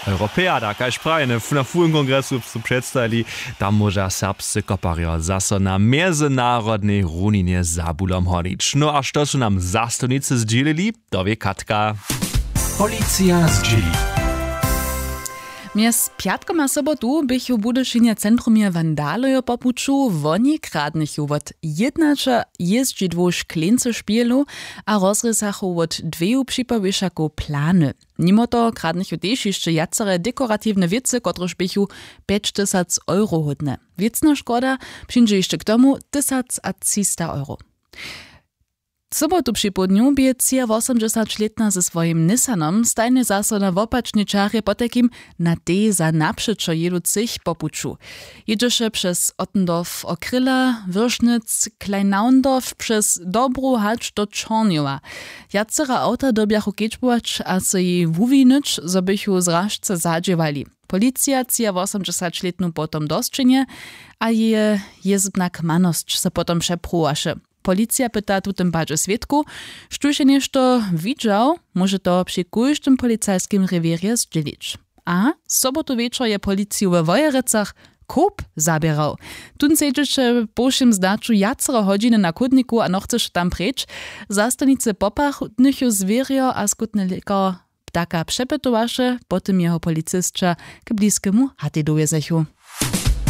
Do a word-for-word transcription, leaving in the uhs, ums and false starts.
Europeada, kaž prajene, na fuhym kongresu su předstajili, tam móža serbscy koparjo zaso na mjezynarodnej runinje za bulom honić. No a što su nam zastawnicy zdźělili, to wě Katka. Policija zdźěli. Mjez pjatkom a sobotu běchu w Budyšinje centrumje wandalojo po puću. Woni kradnychu wot jědnaća jězdźidłow škleńcy špělu a rozrěsachu wot dweju připowěšakow plany. Nimo toho kradnychu tež hišće wjacere dekoratiwne wěcy, kotrež běchu pjećtysac euro hódne. Wěcna škoda přińdźe hišće k tomu tysac a třista euro. Sobotu připołdnju bě třiawosomdźesaćlětna ze swojim Nissanom stajnje zaso na wopačnej čarje potajkim na tej za napřećo jěducych po puću. Jědźeše přez Ottendorf, Okryla, Wyršnyc, Kleinnaundorf, přez Dobru hač do Čornjowa. Wjacera awta dyrbjachu kedźbować a so jej wuwinyć, zo bychu zražce zadźěłali. Policija třiawosomdźesaćlětnu potom do sćenje a jeje jězbna kmanosć so potom přepruwaše. Policija pyta w tutym padźe swědkow, štóž je něšto widźał, móže to při kóždym policajskim rewěrje zdźělić. A sobotu wječor je policiju we Wojerecach kop zaběrał. Tón sedźeše po wšěm zdaću wjacere hodźiny na chódniku a nochceše tam preč. Zastawnicy popachnychu zwěrjo a skótny lěkar ptaka přepytowaše, po tym jeho policisća k bliskemu hatej dowjezechu.